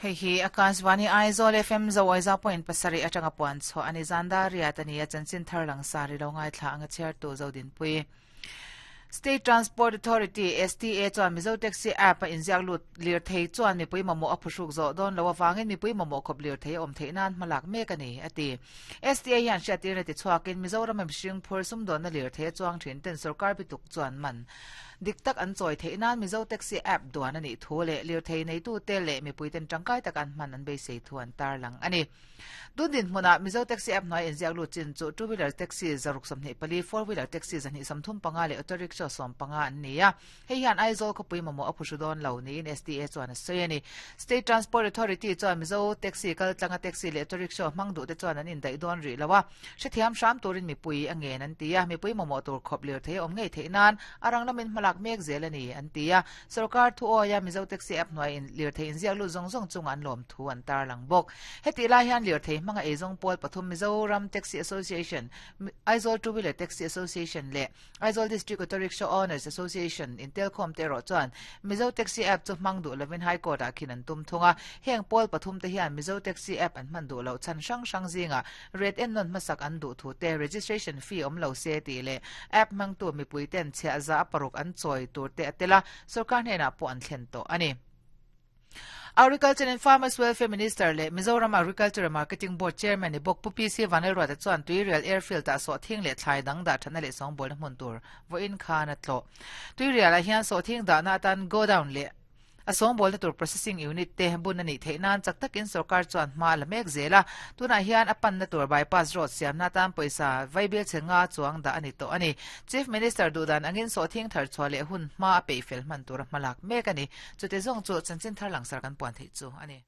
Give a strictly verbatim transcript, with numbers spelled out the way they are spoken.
Hei hi Akashvani Aizawl F M zo aiza point pasarih atanga puan chhuah ani zanda riat ani a chanchin thar lang sari lo ngai thla anga chair tu zodin pui. State Transport Authority S T A chuan Mizo Taxi app a inziak lut lir thei chuan mipui mamawh a phuhruk zawh dawn lo awangin mipui mamawh khawp lir thei a awm theih nan hmalak mek ani ati. S T A hian hriattirna ti chhuakin Mizoram mihring phur sumdawnna lir thei a chuang thin ten sarkar bituk chuan man dik tak an chawi theih nan Mizo Taxi app duan ani thu le lir thei nei tu te le mipui ten tangkai tak an hman an beisei thu an tar lang ani. Dundin hmuna Mizo Taxi app hnuai inziak lut chin chu two wheeler taxi zaruk sawmhnih pali, four wheeler taxi zahnih sawmthum panga leh auto rickshaw sawm panga an ni a. Hei hian Aizawl khawpui mamawh a phuhru dawn lo niin S T A chuan a sawi ani. State Transport Authority chuan Mizo Taxi kal tlanga taxi leh auto rickshaw hmang duh te chuan an indaih dawn rih lo a. Hrethiam hram turin mipui a ngen an ti a. Mipui mamawh tur khawp lir thei a awm ngei theih nan arang lamin hmalak mek zel ani an ti a. Sarkar thu awia Mizo Taxi app hnuai in lir thei inziak lut zawng zawng chunga an lawm thu an tar lang bawk. Heti lai hian lir thei hmanga eizawng pawl pathum Mizoram Taxi Association, Aizawl Two Wheeler Taxi Association le Aizawl District Auto Rickshaw Owners Association in telkhawm te rawh chuan Mizo Taxi app chu hmang duh lovin High Court ah khin an tum thunga. Heng pawl pathum te hian Mizo Taxi app an hman duh lo chan hrang hrang zinga red en non hmasak an duh thu te registration fee awm lo se ti le app hmang tu mipui ten chhia za paruk an chawi tur te atela sarkar hnenah pawh an thlen tawh ani. Agriculture and Farmers Welfare Minister le Mizoram Agriculture and Marketing Board Chairman ni bawk Pu P C Vanlalruata chuan Tuirial Airfield ah sawhthing leh thlai dang dah thana leh sawngbawlna hmun tur vawiin khan a tlawh. Tuirial ah hian sawhthing dahna atan go down leh a sawngbawlna tur processing unit te bun ani theih nan chak takin sarkar chuan hma la mek zela. Tunah hian a panna tur bypass road siamna tan pawisa vaibil chenga chuang dah ani tawh ani. Chief Minister dudan angin sawhthing thar chhuah leh hun hma a peih fel hman tur a hmalak mek ani. Chute zawng chu chanchin thar lang sar kan puan theih chu ani.